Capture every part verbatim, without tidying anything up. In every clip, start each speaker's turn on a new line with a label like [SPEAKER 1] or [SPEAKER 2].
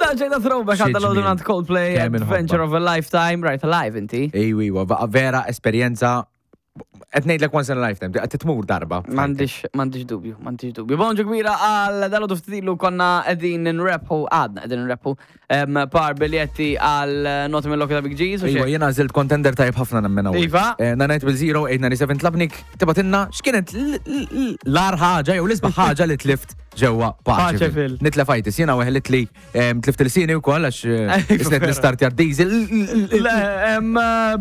[SPEAKER 1] Daġġejna throwback għadda
[SPEAKER 2] Xi
[SPEAKER 1] l
[SPEAKER 2] ġmiel.
[SPEAKER 1] għand Coldplay,
[SPEAKER 2] Kemm inħobbha.
[SPEAKER 1] Adventure of a Lifetime, right alive inti.
[SPEAKER 2] Ejwi, iwa, va- vera esperjenza. Qed ngħidlek once in a lifetime, qed titmur darba.
[SPEAKER 1] M'għandix, m'għandix dubju, m'għandix dubju. Bonġu kbira għal dal-għodu ftitilu konna qegħdin nrebħu, għadna qegħdin nrebħu, em, par biljetti għal Naughty Mill-Loki ta' Big G's. u
[SPEAKER 2] Iwa,
[SPEAKER 1] xek.
[SPEAKER 2] jena għażilt contender tajb ħafna nemmen hawn.
[SPEAKER 1] Iva.
[SPEAKER 2] Nine zero eight nine seven tlabnik tibgħatilna x'kienet l- l- l-agħar ħaġa jew l-isbaħ ħaġa li tlift ġewwa
[SPEAKER 1] Paċeville.
[SPEAKER 2] Paċeville. Nitlef għajtis, jena weħlet li em, tlift il-sini u koll għax eh,
[SPEAKER 1] Iva,
[SPEAKER 2] isnet
[SPEAKER 1] vera.
[SPEAKER 2] nistartja diesel.
[SPEAKER 1] Le, em,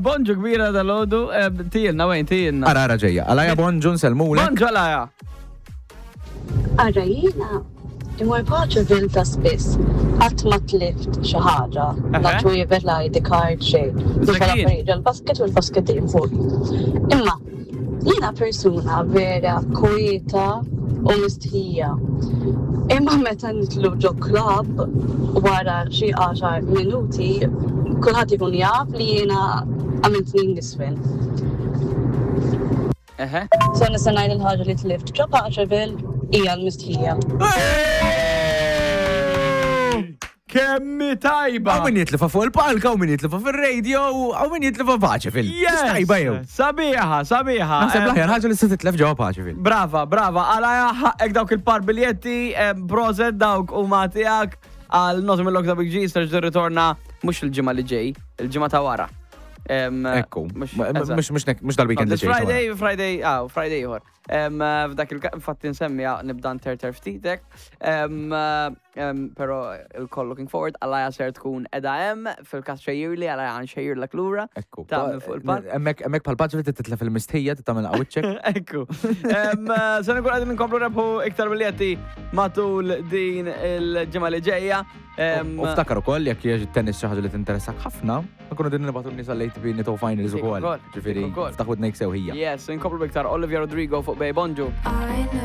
[SPEAKER 1] bonġu kbira dal-għodu, em, tijilna, wejn, tijilna.
[SPEAKER 2] Ara, ara ġejja. Għalaja bonġu nsellmulek.
[SPEAKER 1] Bonġu għalaja.
[SPEAKER 3] Ara jiena, immur Paċeville ta' spiss, qatt ma tlift xi ħaġa, la
[SPEAKER 1] Eħe.
[SPEAKER 3] ċwievet, la I D card, xejn.
[SPEAKER 1] Zakin.
[SPEAKER 3] Nifel l-basket u l-basket dejjem fuq. Imma jiena persuna vera kwieta u mistħija. Imma meta nidħlu ġo club wara xi għaxar minuti, kulħadd ikun jaf li jiena għamilt snin nisfel.
[SPEAKER 1] Eħe.
[SPEAKER 3] So nista' ngħid il-ħaġa li tlift ġo Paċeville hija l-mistħija.
[SPEAKER 1] Kemmi tajba.
[SPEAKER 2] Hawn min jitlifa fuq il-palka, hawn min jitlifa fil-radio, hawn min jitlifa Paċeville.
[SPEAKER 1] Yes!
[SPEAKER 2] Tajba jew.
[SPEAKER 1] Sabiħa, sabiħa.
[SPEAKER 2] Naħseb
[SPEAKER 1] Em,
[SPEAKER 2] l-aħjar ħaġa li se titlef ġewwa Paċeville.
[SPEAKER 1] Brava, brava. Għalaja ħaqqek dawk il-par biljetti, em, prosit dawk u tiegħek għal Naughty Mill-Loki ta' Big G, ser ritorna mhux il-ġimgħa li ġej, il-ġimgħa ta' wara. Em,
[SPEAKER 2] Ekku.
[SPEAKER 1] mhux-
[SPEAKER 2] Ma-
[SPEAKER 1] eżatt.
[SPEAKER 2] Mhux mhux mhux dal-weekend li
[SPEAKER 1] This
[SPEAKER 2] ġej.
[SPEAKER 1] Friday, Friday, ah, Friday ieħor. Em, eh, F'dak il infatti nsemmija nibda nterter ftitek. Em, eh, em, Pero il-koll looking forward, għalaja ser tkun edha hemm fil-kas xejjirli, għalaja nxejjirlek lura.
[SPEAKER 2] Ekku.
[SPEAKER 1] Ta' minn fuq il-palk.
[SPEAKER 2] Hemmhekk hemmhekk bħal Paċeville titlef il-mistħija tagħmel qawwiċċek.
[SPEAKER 1] Ekku. Em, eh, Se nkun qegħdin nkomplu rebħu iktar biljetti matul din il-ġimgħa li ġejja. Em,
[SPEAKER 2] U ftakar ukoll jekk hija tennis xi ħaġa li tinteressak ħafna, nkunu din nibgħatu n-nies għall-A T P Nitto Finals
[SPEAKER 1] Dik
[SPEAKER 2] ukoll.
[SPEAKER 1] ukoll,
[SPEAKER 2] Ġifieri
[SPEAKER 1] dik ukoll.
[SPEAKER 2] ftaħ widnejk sew ħija.
[SPEAKER 1] Yes, nkomplu iktar Olivia Rodrigo fuq Bay Bonġu.
[SPEAKER 4] I know.